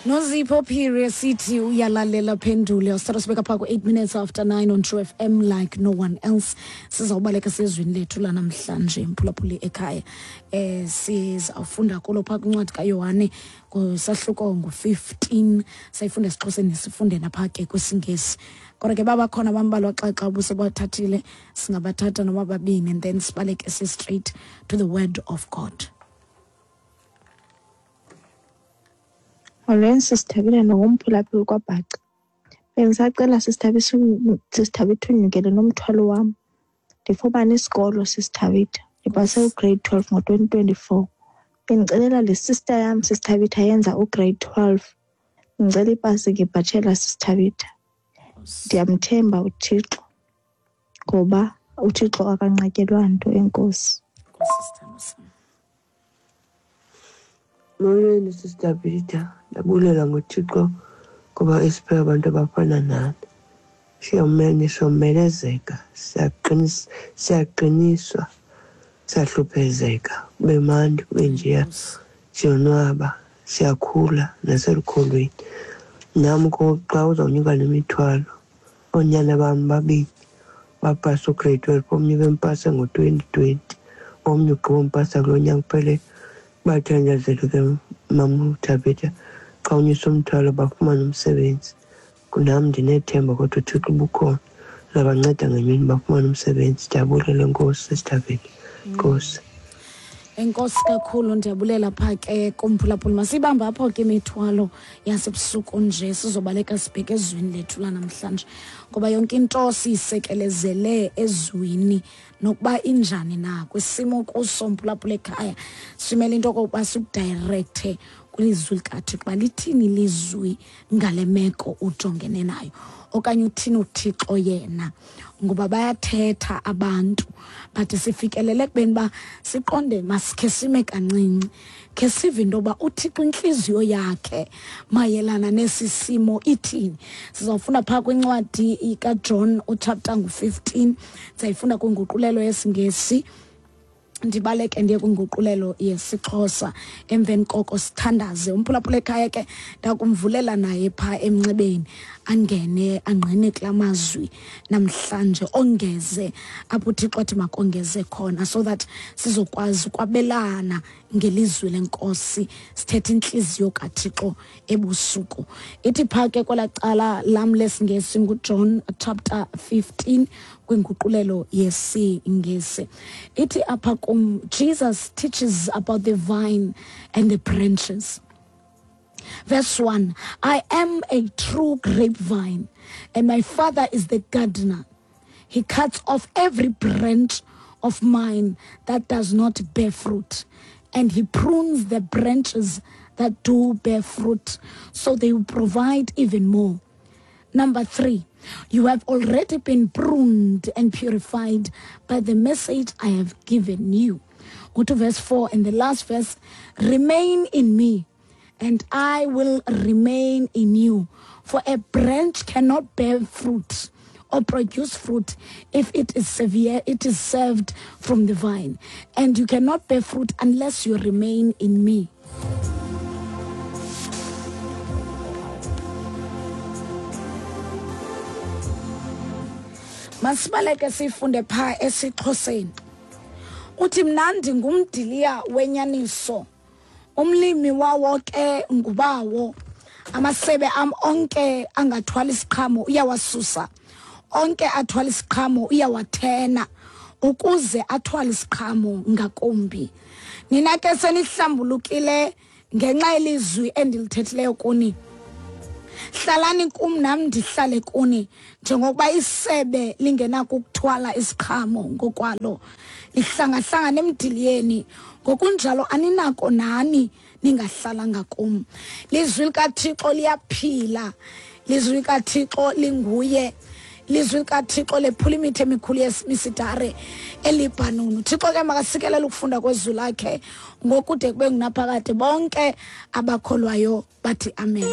Nozipho Phiri sithi uyalalela phendule usithatha sibeka phaa ku-8 minutes after 9 on True FM like no one else. Sizawubaleka sezwini lethu lanamhlanje, mphulaphuli ekhaya. Sizawufunda kulo phaa kwincwadi kaYohane kusahluko ngu-15, sayifunda esiXhoseni sifunde naphaa ke kwisiNgesi. Kodwa ke babakhona bambalwa xa xa ubusebathathile, singabathatha noma babini and then sibaleke si straight to the word of God. Molweni sisithabile nongumphulaphuli kwaBhaca. Bendisacela sisithabitha unyukele nomthwalo wam. Ndifumane isikolo sisithabitha. Ndipase ugrade 12 ngo-2024. Bendicelela le sister yam sisithabitha yenza ugrade 12. Ndicela ipasi ngebhatshela sisithabitha. Ndiyamthemba uThixo ngoba uThixo akanqatyelwa nto. Enkosi. Nkosi, sithandwa sam. Molweni Sister Peter, ndabulela ngoThixo ngoba esiphe abantu abafana nani. Siyomene somelezeka, siyaqiniswa, siyahluphezeka, kube mandi, kube njeya, siyonwaba, siyakhula naselukholweni. Nam xa uzawunyuka nemithwalo, oonyana bam babini bapasa ugrade 12, omnye bempase ngo-2020, omnye ugqiba umpasa kulo nyaka uphele. Bathandazele ke mama uThabitha, xa unyusa umthwalo bafumane umsebenzi. Nam ndinethemba kodwa uThixo ubukhona, uzabanceda ngemini bafumane umsebenzi. Ndiyabulela, enkosi Sister Nkosi. Enkosi kakhulu, ndiyabulela phaa ke kumphulaphuli. Masiyibambe apho ke imithwalo yasebusuku nje, sizobaleka sibheke ezwini lethu lanamhlanje, ngoba yonke into siyisekelezele ezwini nokuba injani na kwisimo kuso mphulaphula ekhaya. Simele into okokuba sikudirecte kwilizwi likaThixo uba lithini ilizwi ngale meko ujongene nayo, okanye uthini uThixo yena, ngoba bayathetha abantu but sifikelele ekubeni uba siqonde masikhe sime kancinci khe sive into yoba uThixo intliziyo yakhe mayelana nesi simo ithini. Sizawufunda phaa kwincwadi kaJohn uchapter ngu-15, sizayifunda kwinguqulelo yesiNgesi, ndibaleke ndiye kwinguqulelo yesiXhosa, emveni koko sithandaze. Umphulaphula ekhaya ke ndakumvulela naye phaa emnxebeni angene angqine kula mazwi namhlanje, ongeze apho uThixo athi makongeze khona, so that sizokwazi ukwabelana ngelizwi lenkosi, sithethe intliziyo kaThixo ebusuku. Ithi phaa ke kwelaa cala lam lesiNgesi nguJohn chapter 15 kwinguqulelo yesiNgesi. Ithi apha kum, Jesus teaches about the vine and the branches. Verse 1, I am a true grapevine, and my Father is the gardener. He cuts off every branch of mine that does not bear fruit, and he prunes the branches that do bear fruit, so they will provide even more. Number 3, you have already been pruned and purified by the message I have given you. Go to verse 4 and the last verse, remain in me, and I will remain in you. For a branch cannot bear fruit or produce fruit if it is severe, it is served from the vine. And you cannot bear fruit unless you remain in me. Masibaleke sifunde phaa esiXhoseni. Uthi mnandi ngumdiliya wenyaniso, umlimi wawo ke ngubawo. Amasebe am onke angathwala isiqhamo uyawasusa, onke athwala isiqhamo uyawathena ukuze athwale isiqhamo ngakumbi. Nina ke senihlambulukile ngenxa yelizwi endilithethileyo kuni. Hlalani kum nam ndihlale kuni, njengokuba isebe lingenako ukuthwala isiqhamo ngokwalo, lihlangahlangana emdiliyeni, ngokunjalo aninako nani ningahlalanga kum. Lizwi likaThixo liyaphila, lizwi likaThixo linguye, lizwi likaThixo lephula imithi emikhulu yemisidare eLibhanoni. uThixo ke makasikelele ukufunda kwezwi lakhe ngokude kube ngunaphakade. Bonke abakholwayo bathi amen.